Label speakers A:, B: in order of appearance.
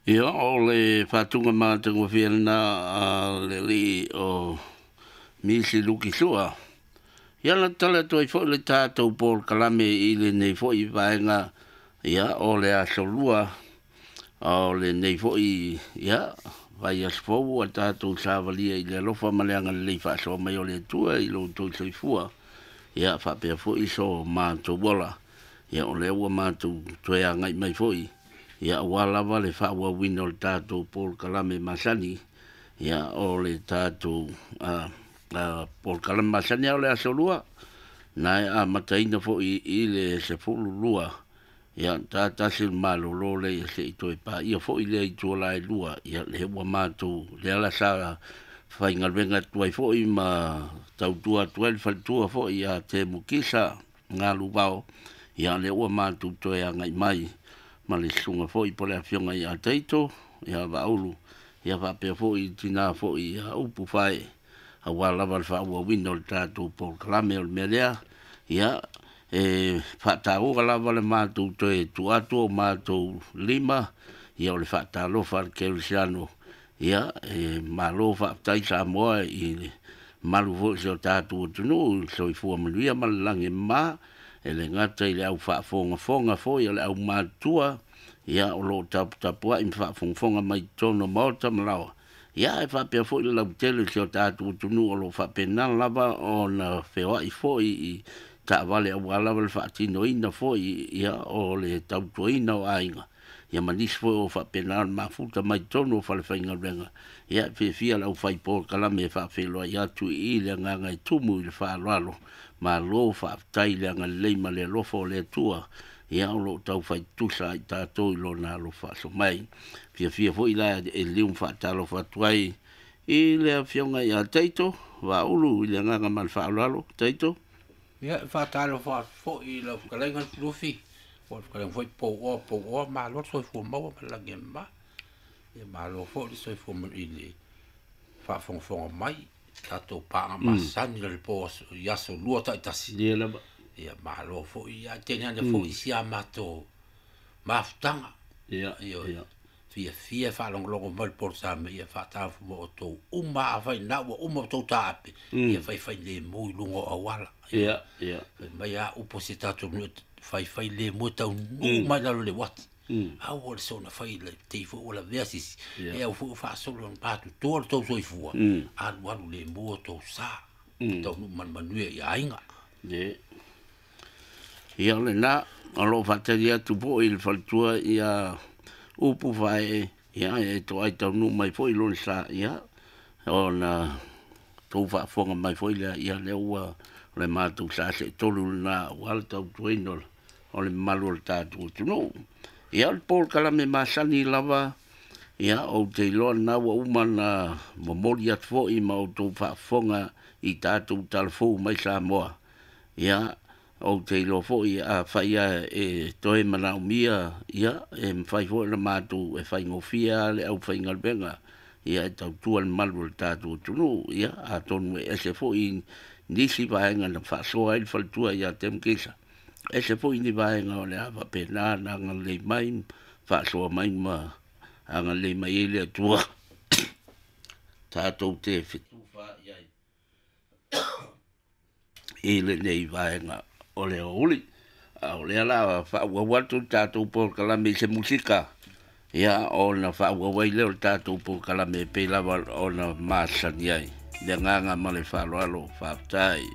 A: Ia, o le faatuga matagofie lena a le alii o Misi Luki Sua. Ia na tala atu ai foi le tatou polokalame i lenei foi vaega, ia, o le aso lua, o lenei foi, ia, vaiaso fou ua tatou savalia i le alofa ma le agalelei faasoa mai o le Atua i lo outou soifua, ia, faapea foi so matou ola. Ia, o lea ua matou toe agai mai foi, ia, aua lava le faaauauina o le tatou polokalame masani, ia, o le tatou polokalame masani o le aso lua, na e amataina foi i le 12, ia, ta tasi le malolo lea ia se i toe paia foi lea i tua e lua, ia, lea ua matou, lea la sa faigaluega atu ai foi ma tautua atu ai le faletua foi ia Temu Kisa Galuvao, ia, lea ua matou toe agai mai ma le susuga foi po le afioga ia Taito, ia Vaaulu, ia faapea foi tina foi ia Upu Fae, aua lava le faaauauina o le tatou polokalame. O le mea lea, ia, e faataua lava le matou toe tuu atu o matou lima, ia, o le faatalofa a le kerisiano, ia, e malo faafetai Samoa i le malu foi o si o tatou atunuu, i le soifua manuia ma le lagi e mama, e le gata i le au faafogafoga foi o le aumatutua, ia, o lo o taputapuai ma faafogafoga mai totonu o maota ma laoa, ia, e faapea foi le lautele o si o tatou atunuu o lo o faapena lava ona feoai foi i taavale aua lava le faatinoina foi, ia, o le tautuaina o aiga, ia, ma nisi foi o faapena ona mafuta mai totonu o falefaigaluega. Ia, e fiafia le aufai polokalame e faafeiloai atu i le agaga e tumu i le faaaloalo. Malo faafetai i le agalelei ma le alofa o le Atua, ia, o lo o taufai tutusa ai tatou i lona alofa faasoa mai. Fiafia foi la e liu ma faatalofa atu ai i le afioga ia Taito Vaaulu i le agaga ma le faaaloalo. Taito.
B: Ia, e faatalofa atu foi i lau fetalaiga Lufilufi, po o le fetalaiga foi Pouoa Pouoa, malo le soifua maua ma le lagi e mama. Ia malo foi le soifua i le faafogafoga mai tatou paaga masani i le po i aso lua taitasi.
A: Ia lava.
B: Ia malo foi, ia teine ane foi si a matou mafutaga.
A: Ia, ia.
B: Fiafia faalogologo mai le polokalame, ia faatalofa ma outou uma afai na ua uma outou taape, ia faifai lemu i luga o auala.
A: Ia, ia.
B: Fai mai a upu se tatou nuu, faifai lemu e taunuu mai lalo le uati. Aua le soona fai le tei foi ua lavea sisi. E au foi ua faasolo ona patutua le tou soifua. Alu alu lemu o tou sa. Taunuu manumanuia i aiga.
A: Ia. Ia, o lena, o lo o faatali atu foi le faletua ia Upu Fae, ia, e toai taunuu mai foi lona sa, ia, ona tou faafofoga mai foi lea, ia, lea ua o le matou sa seetolu lena aua le tautuaina o le mamalu o le tatou atunuu. Ia, o le polokalame masani lava, ia, ou te iloa lena ua uma na momoli atu foi ma outou faafofoga i tatou talafou mai Samoa. Ia, ou te iloa foi afai lava e toe manaomia, ia, e mafai foi ona matou e faigofie lava le aufaigaluega, ia, e tautua le malu o le tatou atunuu. Ia, atonu e ese foi nisi vaega na faasoa ai le faletua ia Temu Kisa, ese foi ni vaega o le a faapena na agalelei mai, faasoa mai ma agalelei mai ai le Atua tatou te fetufaai ai i lenei vaega o le aoauli. A o lea la faaauau atu le tatou polokalame i se musika, ia, ona faaauau ai lea o le tatou polokalame e pei lava ona masani ai. Le agaga ma le faaaloalo, faafetai.